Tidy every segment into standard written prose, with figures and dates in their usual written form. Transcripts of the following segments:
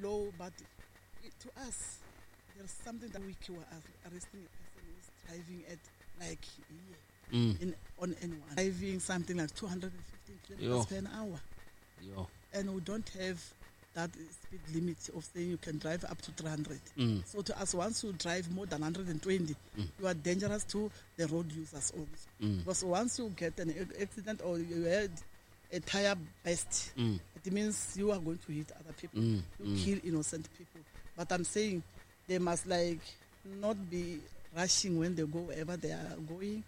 Low, but to us, there's something that we were arresting a person who's driving at like here in on N1, driving something like 215 kilometers per an hour. Yo. And we don't have that speed limit of saying you can drive up to 300. So to us, once you drive more than 120, you are dangerous to the road users also. Because once you get an accident or you had a tire burst, it means you are going to hit other people, you kill innocent people. But I'm saying they must not be rushing when they go wherever they are going.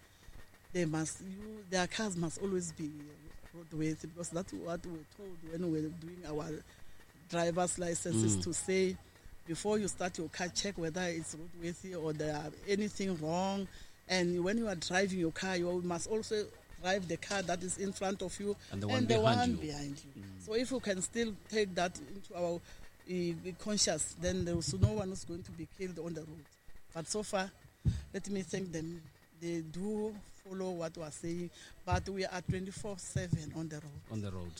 Their cars must always be roadworthy, because that's what we're told when we're doing our driver's licenses, to say before you start your car, check whether it's roadworthy or there are anything wrong. And when you are driving your car, you must also drive the car that is in front of you and the one and the behind one you. behind you. So if you can still take that into our conscious, then there is no one who's going to be killed on the road. But so far, let me thank them. They do follow what we are saying, but we are 24/7 on the road. On the road.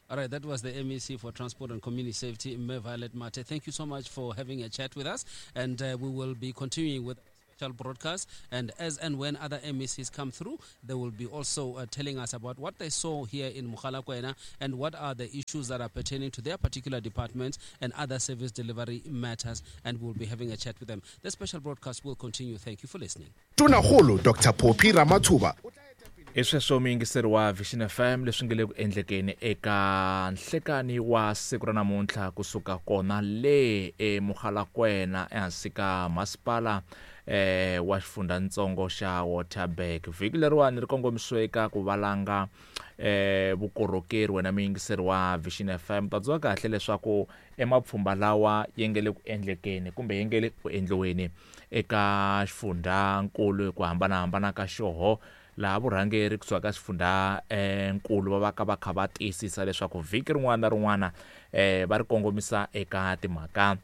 All right, that was the MEC for Transport and Community Safety, Mme Violet Mathe. Thank you so much for having a chat with us, and we will be continuing with special broadcast, and as and when other MECs come through, they will be also telling us about what they saw here in Mogalakwena and what are the issues that are pertaining to their particular departments and other service delivery matters, and we'll be having a chat with them. The special broadcast will continue. Thank you for listening. Tonakgolo Dr Phophi Ramathuba Hi sweswo muyingiseri wa Vision FM leswi nge le ku endlekeni eka nhlekani wa siku ra namuntlha kusuka kona le eMogalakwena ehansi ka masipala wa xifundzhantsongo xa Waterberg. Vhiki leriwani ri kongomisiwe eka ku valanga vukorhokeri. Wena muyingiseri wa Vision FM, ta tsundzuka kahle leswaku emapfhumba lawa ya nge le ku endlekeni kumbe ya nge le ku endliweni eka xifundzankulu hi ku hambanahambana ka xoho, laha vurhangeri kusuka ka xifundza nkulu va va ka va kha va tiyisisa leswaku vhiki rin'wana na rin'wana va ri kongomisa eka timhaka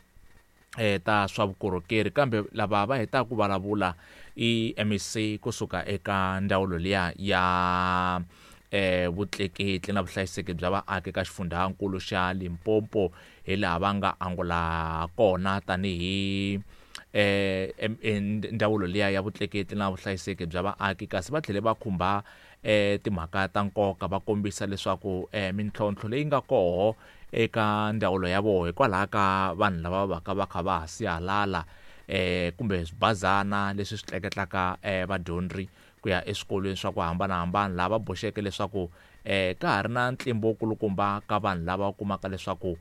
ta swa vukorhokeri. Kambe lava va hetaka ku vulavula i MEC kusuka eka ndzawulo liya ya vutleketli na vuhlayiseki bya vaaki ka xifundzankulu xa Limpopo, hi laha va nga angula kona tanihi ndzawulo liya ya vutleketli na vuhlayiseki bya vaaki. Kasi va tlhele va khumba timhaka ta nkoka, va kombisa leswaku mintlhontlho leyi nga koho eka ndzawulo ya vona hikwalaho ka vanhu lava va ka va kha va ha sihalala kumbe swibazana leswi swi tleketlaka vadyondzi ku ya eswikolweni swa ku hambanahambana, laha va boxeke leswaku ka ha ri na ntlimbo wu kulukumba ka vanhu lava kumaka leswaku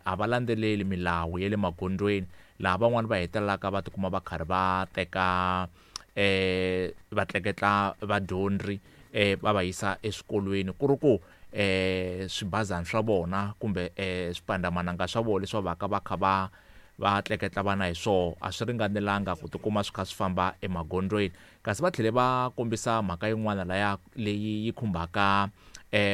a va landzeleli milawu ya le magondzweni, laha van'wani va hetelelaka va tikuma va karhi va teka va tleketla vadyondzi va va yisa eswikolweni, ku ri ku swibazana swa vona kumbe swipandamananga swa vona leswi va va ka va kha va tleketla vana hi swoho a swi ringanelanga ku tikuma swi kha swi famba emagondzweni. Kasi va tlhele va kombisa mhaka yin'wana laya leyi yi khumbaka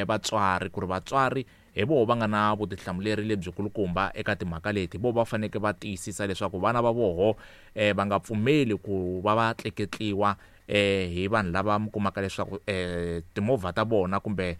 vatswari, ku ri vatswari hi voho va nga na vutihlamuleri lebyikulukumba eka timhaka leti, vo va faneke va tiyisisa leswaku vana va voho va nga pfumeli ku va va tleketliwa hi vanhu lava mi kumaka leswaku timovha ta vona kumbe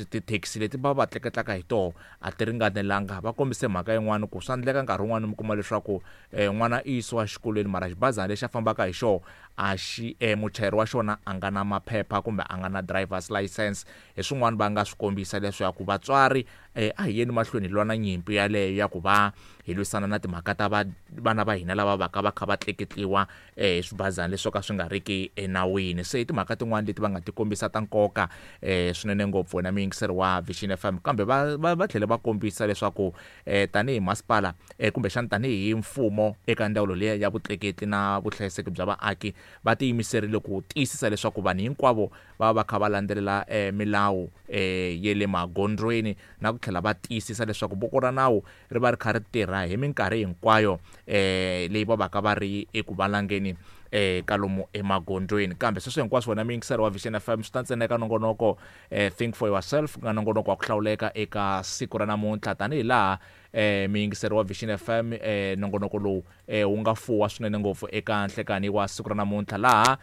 tithekisi leti va va tleketlaka hi toho a ti ringanelanga. Va kombise mhaka yin'wana ku swa endleka nkarhi wun'wani mi kuma leswaku n'wana i yisiwa xikolweni, mara xibazana lexi a fambaka hi xona a xi muchayeri wa xona a nga na maphepha kumbe a nga na driver's license. Hi swin'wana va nga swi kombisa leswaku vatswari a hi yeni mahlweni hi lwa na nyimpi yaleyo ya ku va hi lwisana na timhaka ta vana va hina lava va ka va kha va tleketliwa hi swibazana leswi ka swi nga riki enawini. Se i timhaka tin'wani leti va nga ti kombisa ta nkoka swinene ngopfu wena muyingiseri wa Vision FM. Kambe va tlhele va kombisa leswaku tanihi masipala kumbexana tanihi mfumo eka ndzawulo liya ya vutleketli na vuhlayiseki bya vaaki, va tiyimiserile ku tiyisisa leswaku vanhu hinkwavo va va kha va landzelela milawu ya le magondzweni, na ku tlhela va tiyisisa leswaku voko ra nawu ri va ri kha ri tirha hi minkarhi hinkwayo leyi va va ka va ri eku valangeni kalomu emagondzweni. Kambe sweswo hinkwaswo wena muyingiseri wa Vision FM swi ta ntsena eka nongonoko Think for Yourself, ku nga nongonoko wa ku hlawuleka eka siku ra namuntlha, tanihi laha muyingiseri wa Vision FM nongonoko lowu wu nga fuwa swinene ngopfu eka nhlekani wa siku ra namuntlha, laha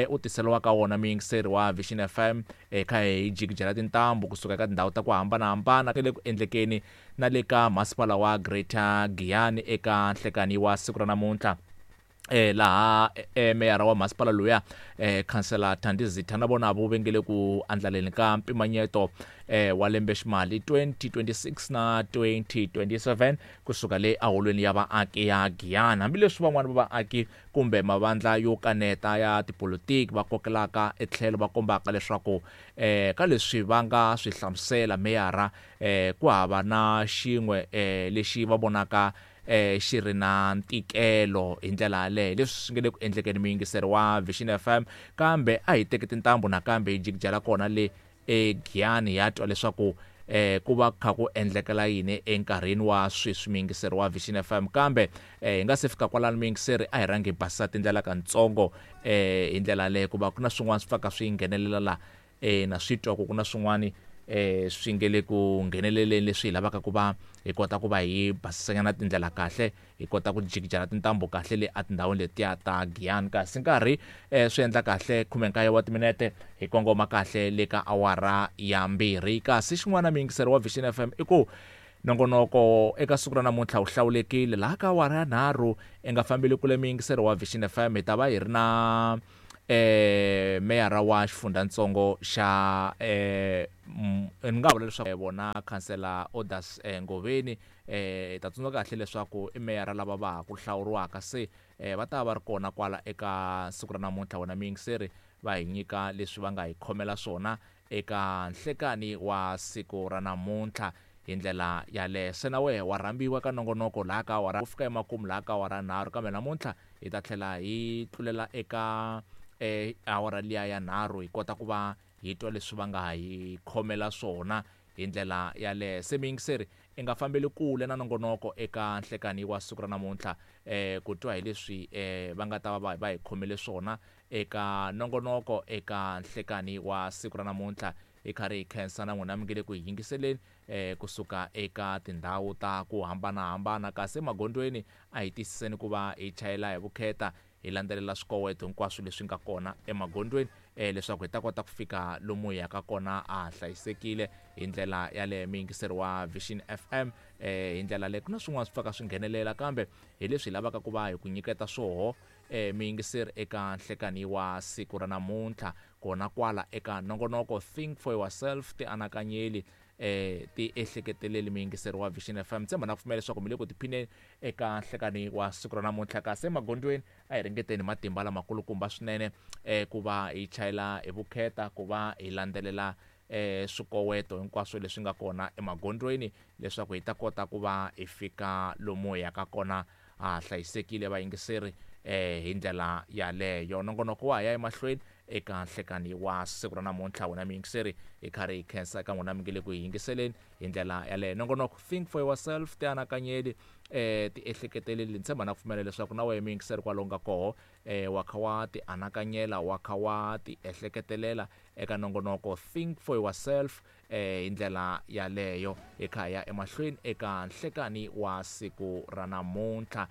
u tiseriwaka wona muyingiseri wa Vision FM kha hi jikijela tintambu kusuka eka tindhawu ta ku hambanahambana le ku endlekeni na le ka masipala wa Greater Giyani eka nhlekani wa siku ra namuntlha. Laha meyara wa masipala luya khansela Thandi Zitha na vona vo vengele ku andlaleni ka mpimanyeto wa lembe ximali 2026 na 2027 kusuka le aholweni ya vaaki ya Giyani. Hambileswi van'wani va vaaki kumbe mavandla yo kaneta ya tipolitiki va kokelaka etlhelo va kombaka leswaku ka leswi va nga swi hlamusela meyara ku hava na xin'we lexi va vonaka xi ri na ntikelo hi ndlela yaleyo leswi swi nge le ku endlekeni muyingiseri wa Vision FM. Kambe a hi teki tintambu nakambe hi jikijela kona le eGiyani ya twa leswaku ku va kha ku endlekela yini enkarhini wa sweswi muyingiseri wa Vision FM. Kambe hi nga se fika kwalano muyingiseri, a hi rhangi hi basisa tindlela kantsongo hi ndlela yaleyo ku va ku na swin'wana swi pfaka swi nghenelela la na swi twa ku na swin'wana swi nge le ku ngheneleleni leswi hi lavaka ku va hi kota ku va hi basisanyana tindlela kahle, hi kota ku jikijela tintambu kahle le etindhawini letiya ta Giyani. Kasi nkarhi swi endla kahle 19 wa timinete hi kongoma kahle le ka awara ya 2. Kasi xin'wana muyingiseri wa Vision FM i ku nongonoko eka siku ra namuntlha wu hlawulekile laha ka awara ya 3 i nga fambeli kule muyingiseri wa Vision FM hi ta va hi ri na meyara wa xifundzhantsongo xa ni nga vula leswaku vona khansela Odas Ngoveni. Hi ta tsundzuka kahle leswaku i meyara lava va ha ku hlawuriwaka se va ta va ri kona kwala eka siku ra namuntlha wena muyingiseri va hi nyika leswi va nga hi khomela swona eka nhlekani wa siku ra namuntlha hi ndlela yaleyo. Se na wehe wa rhambiwa ka nongonoko laha ka awara ku fika emakumu laha ka awara 3, kambe namuntlha hi ta tlhela hi tlulela eka awara liya ya 3 hi kota ku va hi twa leswi va nga hi khomela swona hi ndlela yaleyo. Se muyingiseri i nga fambeli kule na nongonoko eka nhlekani wa siku ra namuntlha ku twa hi leswi va nga ta va va hi khomele swona eka nongonoko eka nhlekani wa siku ra namuntlha. Hi karhi hi khensa na n'wina mi nge le ku hi yingiseleni kusuka eka tindhawu ta ku hambanahambana. Kasi emagondzweni a hi tiyisiseni ku va hi chayela hi vukheta, hi landzelela swikoweto hinkwaswo leswi nga kona emagondzweni leswaku hi ta kota ku fika lomu hi yaka kona a hlayisekile hi ndlela yaleyo. Muyingiseri wa Vision FM hi ndlela leyi ku na swin'wana swi pfaka swi nghenelela, kambe hi leswi hi lavaka ku va hi ku nyiketa swoho muyingiseri eka nhlekani wa siku ra namuntlha kona kwala eka nongonoko Think for Yourself, tianakanyeli ti ehleketeleli muyingiseri wa Vision FM. Tshemba na ku pfumela leswaku mi le ku tiphineni eka nhlekani wa siku ra namuntlha. Kasi emagondzweni a hi ringeteni matimba lamakulukumba swinene ku va hi chayela hi vukheta, ku va hi landzelela swikoweto hinkwaswo leswi nga kona emagondzweni leswaku hi ta kota ku va hi fika lomu hi yaka kona a hlayisekile vayingiseri hi ndlela yaleyo. Nongonoko wa ha ya emahlweni eka nhlekani wa siku ra namuntlha wena muyingiseri, hi karhi hi khensa eka n'wina mi nge le ku hi yingiseleni hi ndlela yaleyo. Nongonoko Think for Yourself, tianakanyeli ti ehleketeleli. Ni tshemba na ku pfumela leswaku na wena muyingiseri kwalomu nga koho wa kha wa ti anakanyela, wa kha wa ti ehleketelela eka nongonoko Think for Yourself hi ndlela yaleyo. Hi kha hi ya emahlweni eka nhlekani wa siku ra namuntlha.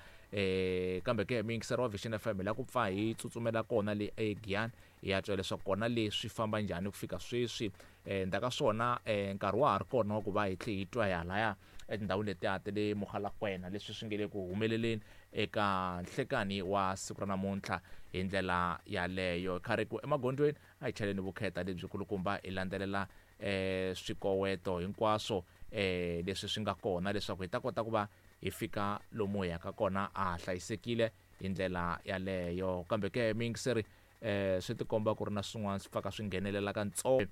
Kambe ke muyingiseri wa Vision FM hi la ku pfa hi tsutsumela kona le eGiyani hi ya twa leswaku kona leswi famba njhani ku fika sweswi. Ndzhaku ka swona nkarhi wa ha ri kona wa ku va hi tlhe hi twa hi halaya etindhawini letiya ta le Mogalakwena leswi swi nge le ku humeleleni eka nhlekani wa siku ra namuntlha hi ndlela yaleyo. Kha ri ku emagondzweni a hi chaleni vukheta lebyikulukumba hi landzelela swikoweto hinkwaswo leswi swi nga kona leswaku hi ta kota ku va hi fika lomu hi yaka kona a hlayisekile hi ndlela yaleyo. Kambe ke muyingiseri swi tikomba ku ri na swin'wana swi pfaka swi nghenelela kantsongo.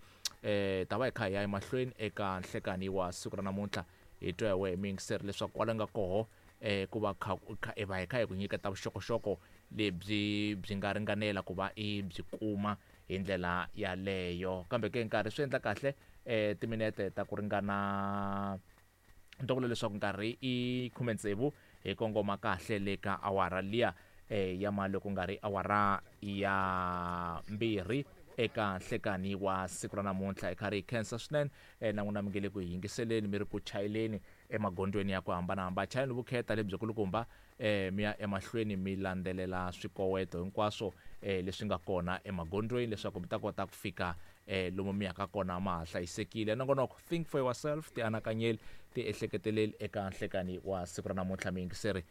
Ta va hi kha hi ya emahlweni eka nhlekani wa siku ra namuntlha hi twa hi wehe muyingiseri leswaku kwala nga koho ku va kha hi va hi kha hi ku nyiketa vuxokoxoko lebyi byi nga ringanela ku va i byi kuma hi ndlela yaleyo. Kambe ke nkarhi swi endla kahle timinete ta ku ringana ni vula leswaku nkarhi i 16 hi kongoma kahle le ka awara liya ya mali ku nga ri awara ya 2 eka nhlekani wa siku ra namuntlha. Hi karhi hi khensa swinene na n'wina mi nge le ku hi yingiseleni mi ri ku chayeleni emagondzweni ya ku hambanahambana. Chayeleni vukheta lebyikulukumba mi ya emahlweni mi landzelela swikoweto hinkwaswo leswi nga kona emagondzweni leswaku mi ta kota ku fika lomu mi yaka kona ma ha hlayisekile. Nongonoko Think for Yourself, tianakanyeli, ti ehleketeleli eka nhlekani wa siku ra namuntlha miyingiseri.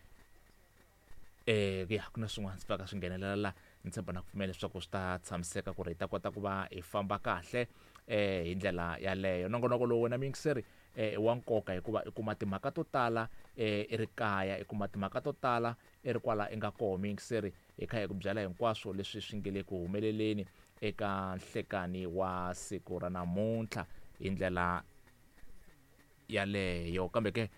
Ya ku na swin'wana swi pfaka swi nghenelela la, ni tshemba na ku pfumela leswaku swi ta tshamiseka ku ri hi ta kota ku va hi famba kahle hi ndlela yaleyo. Nongonoko lowu wena miyingiseri i wa nkoka hikuva i kuma timhaka to tala i ri kaya, i kuma timhaka to tala i ri kwala i nga koho miyingiseri, hi kha hi ku byela hinkwaswo leswi swi nge le ku humeleleni eka nhlekani wa siku ra namuntlha hi ndlela yaleyo. Kambe ke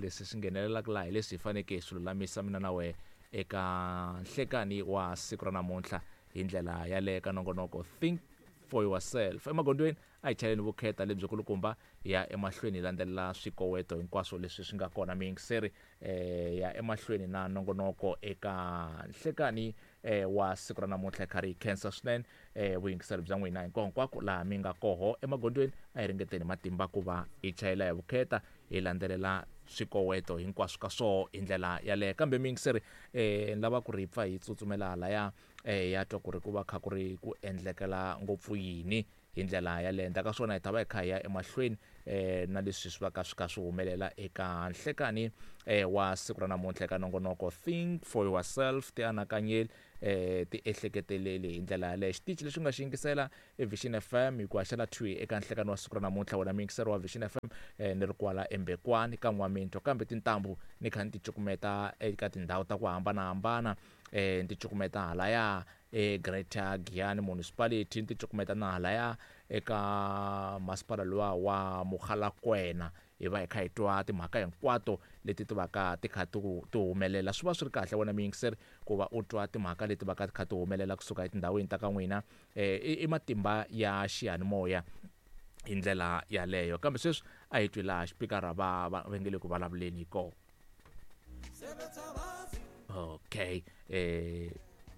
leswi swi nghenelelaka laha hi leswi hi faneke hi swi lulamisa mina na wehe eka nhlekani wa siku ra namuntlha hi ndlela yaleyo ka nongonoko Think for Yourself. Emagondzweni a hi chayeleni vukheta lebyikulukumba, hi ya emahlweni hi landzelela swikoweto hinkwaswo leswi swi nga kona miyingiseri, ya emahlweni na nongonoko eka nhlekani wa siku ra namuntlha. Hi karhi hi khensa swinene vuyingiseri bya n'wina hinkwako hinkwako laha mi nga koho emagondzweni. A hi ringeteni matimba ku va hi chayela hi vukheta, hi landzelela swikoweto hinkwaswo ka swoho hi ndlela yaleyo. Kambe miyingiseri, ni lava ku ri hi pfa hi tsutsumela halaya, ya twa ku ri ku va kha ku ri ku endlekela ngopfu yini hi ndlela yaleyo. Endzhaku ka swona hi ta va hi kha hi ya emahlweni na leswi swi va ka swi kha swi humelela eka nhlekani wa siku ra namuntlha eka nongonoko Think for Yourself, tianakanyeli, ti ehleketeleli hi ndlela yaleyo. Xitichi lexi u nga xi yingisela i Vision FM hi ku haxela 2 eka nhlekani wa siku ra namuntlha. Wena muyingiseri wa Vision FM, ni ri kwala eMbekwani ka N'waminto, kambe tintambu ni kha ni ti cukumeta eka tindhawu ta ku hambanahambana, ni ti cukumeta halaya eGreater Giyani Municipality, ni ti cukumeta na halaya eka masipala luwa wa Mogalakwena. Hi va hi kha hi twa timhaka hinkwato leti ti vaka ti kha ti humelela. Swi va swi ri kahle wena muyingiseri ku va u twa timhaka leti vaka ti kha ti humelela kusuka etindhawini ta ka n'wina, i matimba ya xiyanimoya hi ndlela yaleyo. Kambe sweswi a hi twi laha xipikara va va nge le ku vulavuleni hi kona. Okay,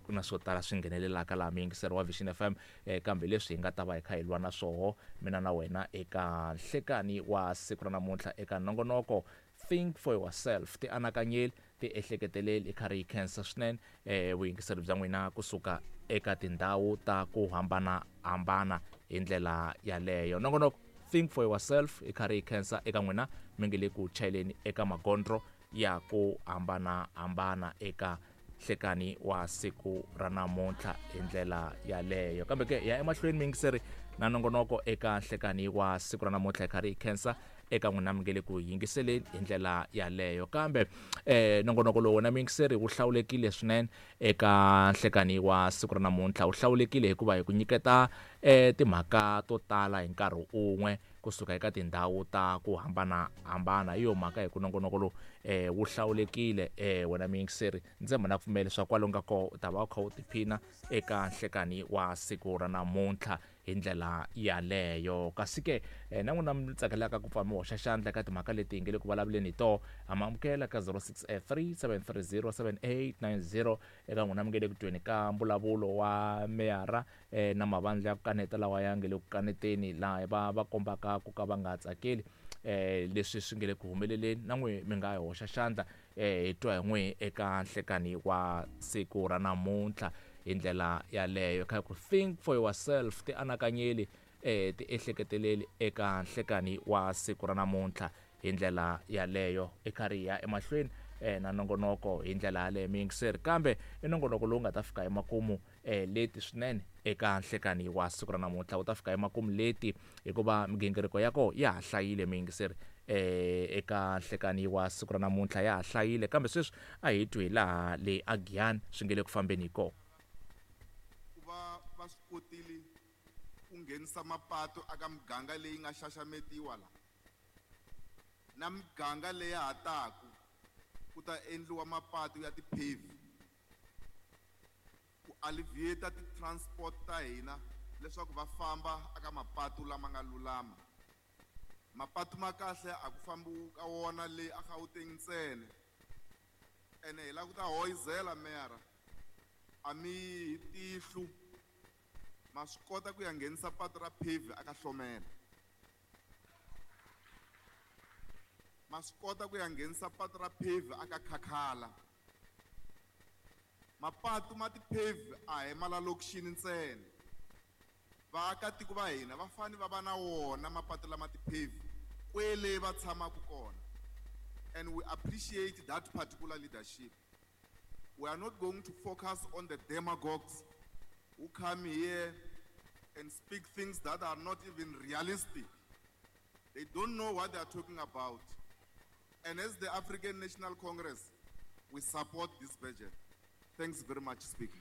ku na swo tala swi nghenelelaka laha muyingiseri wa Vision FM, kambe leswi hi nga ta va hi kha hi lwa na swoho mina na wena eka nhlekani wa siku ra namuntlha eka nongonoko Think for Yourself, tianakanyeli, ti ehleketeleli. Hi karhi hi khensa swinene vuyingiseri bya n'wina kusuka eka tindhawu ta ku hambanahambana hi ndlela yaleyo. Nongonoko Think for Yourself hi karhi hi khensa eka n'wina mi nge le ku chayeleni eka magondzo ya ku hambanahambana eka nhlekani wa siku ra namuntlha hi ndlela yaleyo. Kambe ke ya emahlweni muyingiseri na nongonoko eka nhlekani wa siku ra namuntlha, hi karhi hi khensa eka n'wina mi nge le ku yingiseleni hi ndlela yaleyo. Kambe nongonoko lowu wena muyingiseri wu hlawulekile swinene eka nhlekani wa siku ra namuntlha. Wu hlawulekile hikuva hi ku nyiketa timhaka to tala hi nkarhi un'we kusuka eka tindhawu ta ku hambanahambana. Hi yo mhaka hi ku nongonoko lowu wu hlawulekile wena muyingiseri. Ndzi tshemba na ku pfumela leswaku kwalomu ka koho u ta va u kha u tiphina eka nhlekani wa siku ra namuntlha hi ndlela yaleyo. Kasi ke na n'wina mi tsakelaka ku pfa mi hoxa xandla eka timhaka leti hi nge le ku vulavuleni hi toho, ha mi amukela ka 063 730 7890 eka n'wina mi nge le ku tweni ka mbulavulo wa meyara na mavandla ya ku kaneta lawa ya nge le ku kaneteni, laha va kombaka ku ka va nga tsakeli leswi swi nge le ku humeleleni. Na n'wi mi nga hoxa xandla, hi twa hi n'wi eka nhlekani wa siku ra namuntlha hi ndlela yaleyo. Kha ku Think for Yourself, tianakanyeli, ti ehleketeleli eka nhlekani wa siku ra namuntlha hi ndlela yaleyo. I karhi hi ya emahlweni na nongonoko hi ndlela yaleyo muyingiseri, kambe i nongonoko lowu nga ta fika emakumu leti swinene eka nhlekani wa siku ra namuntlha. Wu ta fika emakumu leti hikuva migingiriko ya koho ya ha hlayile muyingiseri, eka nhlekani wa siku ra namuntlha ya ha hlayile. Kambe sweswi a hi twi hi laha le a Giyani swi nge le ku fambeni hi kona. Ku va va swi kotile ku nghenisa mapatu aka miganga leyi nga xaxametiwa la na miganga leyi ha taku ku ta endliwa mapatu ya tipave ku alleviate ti-transport ta hina leswaku va famba aka mapatu lama nga lulama. Mapatu ma kahle a ku fambiwi ka wona le a Gauteng ntsena, ene hi lava ku ta hoyizela meyara, a mi hi tihlu ma swi kota ku ya nghenisa patu ra pave aka Hlomela, ma swi kota ku ya nghenisa patu ra pave aka Khakhala, Mapatu ma ti-pave a hi ma la lokixini ntsena. Vaakatiko va hina va fanele va va na wona mapatu lama ti-pave kwele va tshamaka kona. And we appreciate that particular leadership. We are not going to focus on the demagogues who come here and speak things that are not even realistic. They don't know what they are talking about. And as the African National Congress, we support this budget. Thanks very much, Speaker.